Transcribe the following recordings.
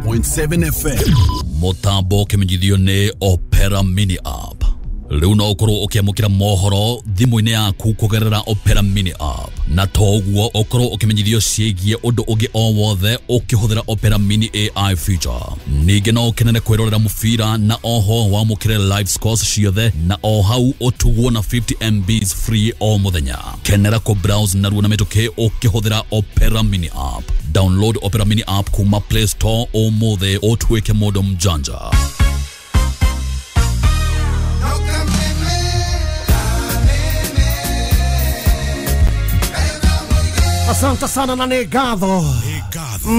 101.7 FM. Mũtambo ũkĩmenyithio nĩ Opera Mini App. Rĩu no ũkorwo ũkĩamũkĩra mohoro thimũ-inĩ yaku kũgerera Opera Mini App, na to ũguo ũkorwo ũkĩmenyithio ciĩgiĩ ũndũ ũngĩ o wothe ũkĩhũthĩra Opera Mini AI feature. Ningĩ no ũkenere kwĩrorera mũbira na oho wamũkĩre live scores ciothe na o hau ũtugwo na 50 MBs free o mũthenya. Kenera kũ browse narua na mĩtũkĩ ũkĩhũthĩra Opera Mini App. Download Opera Mini App kuma Play Store ũmũthĩ ũtuĩke mũndũ mjanja. Asante sana na nĩ ngatho. Nĩ ngatho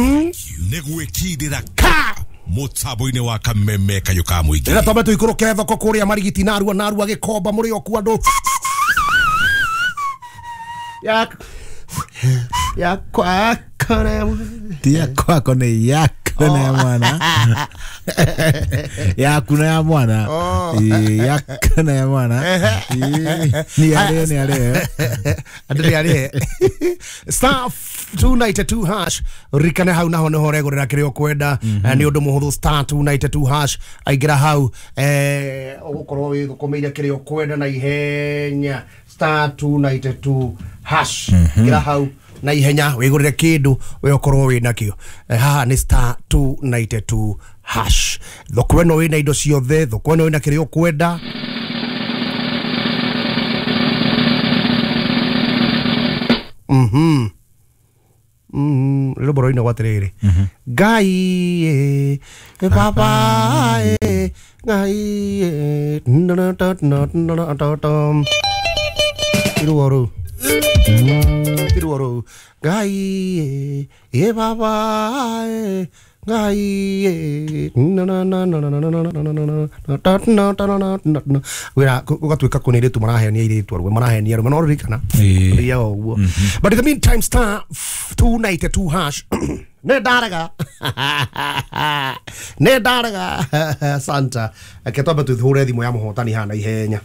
nĩ gwĩkindĩra ka mũtambo-inĩ wa Kameme kayũ ka mũingĩ. Rĩrĩa twambe tũikũrũke thoko kũrĩa Marigiti narua narua Gĩkomba mũrĩ o kuo andũ ya ya kwakore. Ti ya kwako, nĩ yaku na ya mwana, yaku na ya mwana. Ĩĩ, yaku na ya mwana. Ĩĩ, nĩ arĩo nĩ arĩo. Andũ nĩ arĩe star 292 hash ririkane hau naho nĩho ũregũrĩra kĩrĩa ũkwenda. Nĩ ũndũ mũhũthũ, star 292 hash, aingĩra hau, ũgũkorwo wĩthũkũmĩire kĩrĩa ũkwenda na ihenya. Star 292 hash, ingĩra hau na ihenya wĩgũrĩre kĩndũ we ũkorwo wĩ nakĩo. Haha nĩ star 292 hash, thoko ĩno wĩna indo ciothe, thoko ĩno wĩna kĩrĩa ũkwenda. Rwĩmbo rũinagwo atĩrĩrĩ, Ngai ĩ baba ĩ Ngai ĩ tiruo rũu, tiruo rũu, Ngai ĩ baba ĩ Ngai ĩ wĩra gũgatuĩka kũnĩ airĩtu marahenia airĩtu arũme marahenia arũme no ririkana. Ĩĩ. Thiaga ũguo. But in the meantime, star 292 hash, nĩ ndarega, nĩ ndarega. Santa, reke twambe tũhũre thimũ ya mũhotani haha na ihenya.